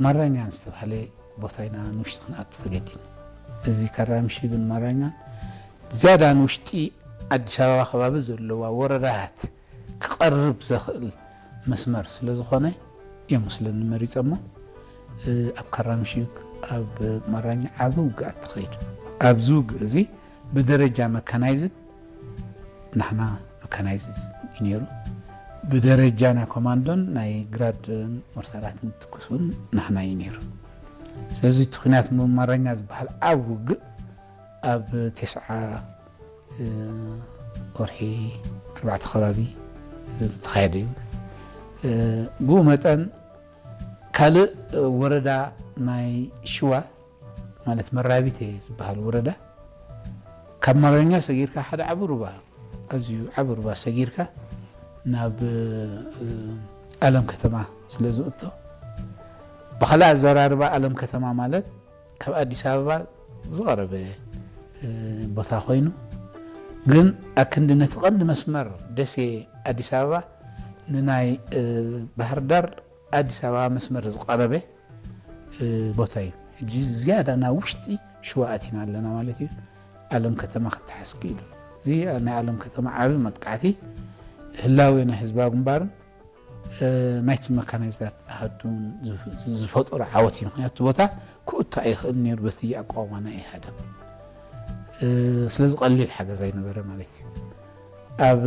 ማራኛን ዝተባህለ ቦታ ኢና ንውሽጢ ክንኣቱ ተገዲን። እዚ ካራምሽግን ማራኛን ዝያዳ ንውሽጢ ኣዲስ ኣበባ ከባቢ ዘለዋ ወረዳታት ክቐርብ ዘኽእል መስመር ስለ ዝኾነ እዮም መስለኒ መሪጸሞ። ኣብ ካራምሽግ ኣብ ማራኛ ዓቢ ውግኣት ተኸይዱ። ኣብዚ ውግእ እዚ ብደረጃ መካናይዝድ ንሕና መካናይዝድ እዩ ነይሩ። ብደረጃ ናይ ኮማንዶን ናይ ግራድ ሞርታራትን ትኩስ እውን ንሕና እዩ ነይሩ። ስለዚ እቲ ኩናት ማራኛ ዝበሃል ዓቢ ውግእ ኣብ ተስዓ ወርሒ ኣርባዕተ ከባቢ ዝተኻየደ እዩ። ብኡ መጠን ካልእ ወረዳ ናይ ሽዋ ማለት መራቢቴ ዝበሃል ወረዳ ካብ ማረኛ ሰጊርካ ሓደ ዓቢ ሩባ ኣዝዩ ዓቢ ሩባ ሰጊርካ ናብ ኣለም ከተማ ስለ ዝእቶ ብኻልእ ኣዘራርባ ኣለም ከተማ ማለት ካብ ኣዲስ ኣበባ ዝቐረበ ቦታ ኮይኑ ግን ኣክንዲ ነቲ ቀንዲ መስመር ደሴ ኣዲስ ኣበባ ንናይ ባህር ዳር ኣዲስ ኣበባ መስመር ዝቐረበ ቦታ እዩ። ሕጂ ዝያዳ ናብ ውሽጢ ሽዋ ኣቲና ኣለና ማለት እዩ። ኣለም ከተማ ክተሓዝ ክኢሉ። እዚ ናይ ኣለም ከተማ ዓቢ መጥቃዕቲ ህላዌ ናይ ህዝባዊ ግንባርን ናይቲ መካናይዝዳት ኣሃዱን ዝፈጠሮ ዓወት እዩ። ምክንያቱ ቦታ ክእቶ ኣይኽእል ነይሩ በቲ ኣቋውማ ናይ ኢህኣደግ። ስለዚ ቀሊል ሓገዝ ኣይነበረ ማለት እዩ። ኣብ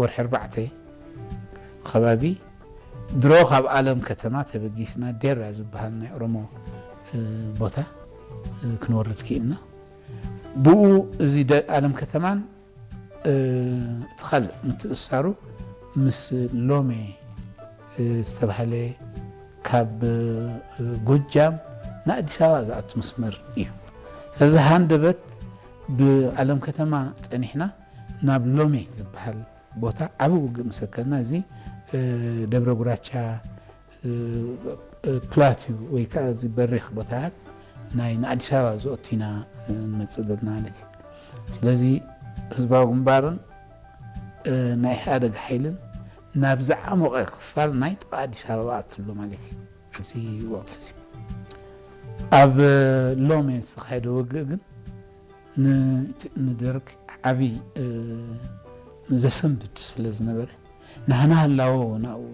ወርሒ ኣርባዕተ ከባቢ ድሮ ካብ ኣለም ከተማ ተበጊስና ዴራ ዝበሃል ናይ ኦሮሞ ቦታ ክንወርድ ክኢልና። ብኡ እዚ ኣለም ከተማን እቲ ካልእ ምትእሳሩ ምስ ሎሜ ዝተባህለ ካብ ጎጃም ንኣዲስ ኣበባ ዝኣቱ መስመር እዩ። ስለዚ ሃንደበት ብኣለም ከተማ ጸኒሕና ናብ ሎሜ ዝበሃል ቦታ ዓቢ ውግእ ምስ ኣከልና እዚ ደብረ ጉራቻ ፕላትዩ ወይ ከዓ እዚ በሪኽ ቦታታት ናይ ንኣዲስ ኣበባ ዝኦቱ ኢና ንመጽእ ዘለና ማለት እዩ። ስለዚ ህዝባዊ ግንባርን ናይ ኢህኣደግ ሓይልን ናብ ዝዓሞቐ ክፋል ናይ ጥቓ ኣዲስ ኣበባ ኣትሎ ማለት እዩ። ኣብዚ ወቕቲ እዚ ኣብ ሎሜ ዝተኻየደ ውግእ ግን ንደርግ ዓቢ ዘሰንብድ ስለ ዝነበረ ናህና ህላወ ናብኡ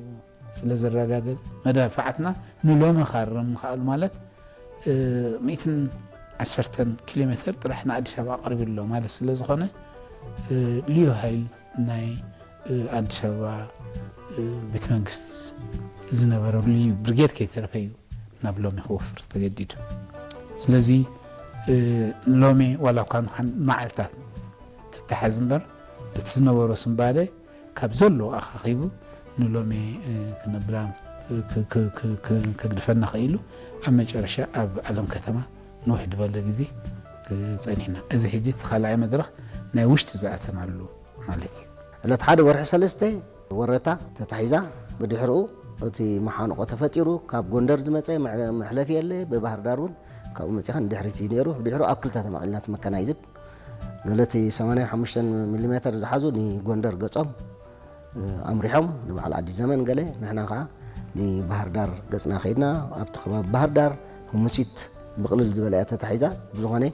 ስለ ዘረጋገጸ መዳፍዓትና ንሎሚ ካርም ምኽኣሉ ማለት ሚእትን ዓሰርተን ኪሎ ሜትር ጥራሕ ንኣዲስ ኣበባ ኣቕሪቡ ኣሎ ማለት ስለ ዝኾነ ልዩ ሃይል ናይ ኣዲስ ኣበባ ቤተ መንግስት ዝነበረሉ ብርጌድ ከይተረፈ እዩ ናብ ሎሚ ክወፍር ተገዲዱ። ስለዚ ሎሚ ዋላ እኳ ንሓን መዓልታት ትተሓዝ እምበር እቲ ዝነበሮ ስንባደ ካብ ዘሎ ኣኻኺቡ ንሎሚ ክነብላ ከግድፈና ኽኢሉ ኣብ መጨረሻ ኣብ ኣለም ከተማ ንውሕ ዝበለ ግዜ ጸኒሕና። እዚ ሕጂ እቲ ካልኣይ መድረኽ ናይ ውሽጢ ዝኣተናሉ ማለት እዩ። ዕለት ሓደ ወርሒ ሰለስተ ወረታ ተታሒዛ ብድሕርኡ እቲ መሓንቆ ተፈጢሩ ካብ ጎንደር ዝመፀ መሕለፊ የለ ብባህር ዳር እውን ካብኡ መፂኻ ንድሕሪት እዩ ነይሩ። ብድሕሩ ኣብ ክልተ ተመቒልና እቲ መካናይዝድ ገለ እቲ ሰማንያ ሓሙሽተ ሚሊ ሜተር ዝሓዙ ንጎንደር ገፆም ኣምሪሖም ንበዓል ኣዲስ ዘመን ገለ ንሕና ከዓ ንባህር ዳር ገፅና ከይድና ኣብቲ ከባቢ ባህር ዳር ህሙሲት ብቕልል ዝበለ እያ ተታሒዛ። ብዝኾነ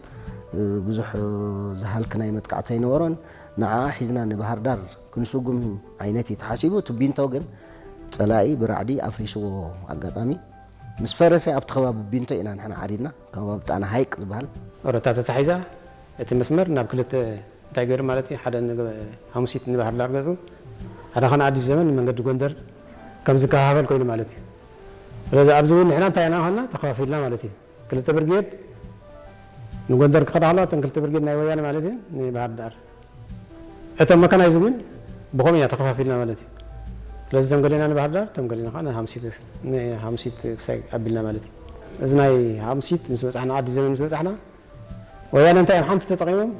ብዙሕ ዝሃልክ ናይ መጥቃዕቲ ኣይነበሮን። ንዓኣ ሒዝና ንባህር ዳር ክንስጉም ዓይነት እዩ ተሓሲቡ። እቲ ቢንቶ ግን ፀላኢ ብራዕዲ ኣፍሪስዎ ኣጋጣሚ ምስ ፈረሰ ኣብቲ ከባቢ ቢንቶ ኢና ንሕና ዓሪድና ከባቢ ጣና ሃይቅ ዝበሃል። ኦረታ ተታሒዛ እቲ መስመር ናብ ክልተ እንታይ ገይሩ ማለት እዩ ሓደ ንግ- ሓሙሲት ንባህር ዳር ገፁ ሓደ ኸነ ኣዲስ ዘመን ንመንገዲ ጎንደር ከም ዝከፋፈል ኮይኑ ማለት እዩ። ስለዚ ኣብዚ እውን ንሕና እንታይ ኢና ኾና ተኸፋፊልና ማለት እዩ። ክልተ ብርጌድ ንጎንደር ክኸዳ ከለዋ እተን ክልተ ብርጌድ ናይ ወያነ ማለት እዩ ንባህር ዳር እቶም መካናይዝ ግን ብኸምኡ ኢና ተኸፋፊልና ማለት እዩ። ስለዚ እቶም ገሌና ንባህር ዳር እቶም ገሌና ከዓ ንሓሙሲት ንሓሙሲት ክሳይ ኣቢልና ማለት እዩ። እዚ ናይ ሓሙሲት ምስ በፃሕና ኣዲስ ዘመን ምስ በፃሕና ወያነ እንታይ እዮም ሓንቲ ተጠቒሞም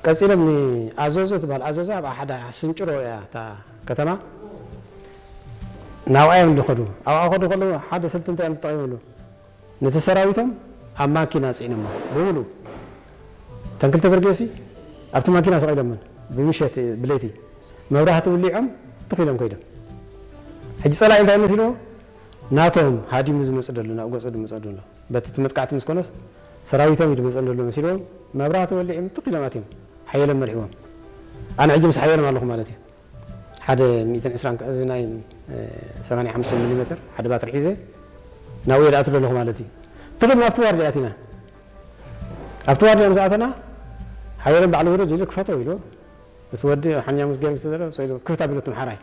ቀፂሎም ንኣዘዞ ትበሃል ኣዘዞ ኣብ ሓደ ስንጭሮ እያ እታ ከተማ ናብኣ እዮም ዝኸዱ ኣብኣ ከዱ ከለዉ ሓደ ስልቲ እንታይ እዮም ተጠቒሞሉ ነቲ ሰራዊቶም ኣብ ማኪና ፅዒኖሞ ብምሉ እተን ክልተ በርጌሲ ኣብቲ ማኪና ሰቒሎመን ብምሸት ብለይቲ መብራህቲ ውሊዖም ትኺሎም ከይዶም ሕጂ ፀላኢ እንታይ መሲልዎ ናቶም ሃዲሙ ዝመጽእ ዘሎ፣ ናብ ገጹ ዝመጽእ ዘሎ። በቲ እቲ መጥቃዕቲ ምስ ኮነስ፣ ሰራዊቶም እዩ ዝመጽእ ዘሎ መሲልዎም፣ መብራህቲ ወሊዕም ትኽ ኢሎም ኣትዮም። ሓየሎም መሪሕዎም። ኣነ ሕጂ ምስ ሓየሎም ኣለኹ ማለት እዩ። ሓደ ሚእትን ዕስራን፣ እዚ ናይ፣ እ፣ ሰማንያ ሓሙሽተ ሚሊ ሜትር፣ ሓደ ባትሪ ሒዘ፣ ናብኡ እየ ዝኣቱ ዘለኹ ማለት እዩ። ትኽል ናብቲ ዋርድያ ኣቲና። ኣብቲ ዋርድያ ምስ ኣተና፣ ሓየሎም ባዕሉ ውረድ ኢሉ ክፈቶ ኢሉ፣ እቲ ወዲ ሓንኛ ምስ ገይሩ ዝተዘረ፣ ሰው ኢሉ ክፍት ኣቢሉ እቲ ምሓራይ።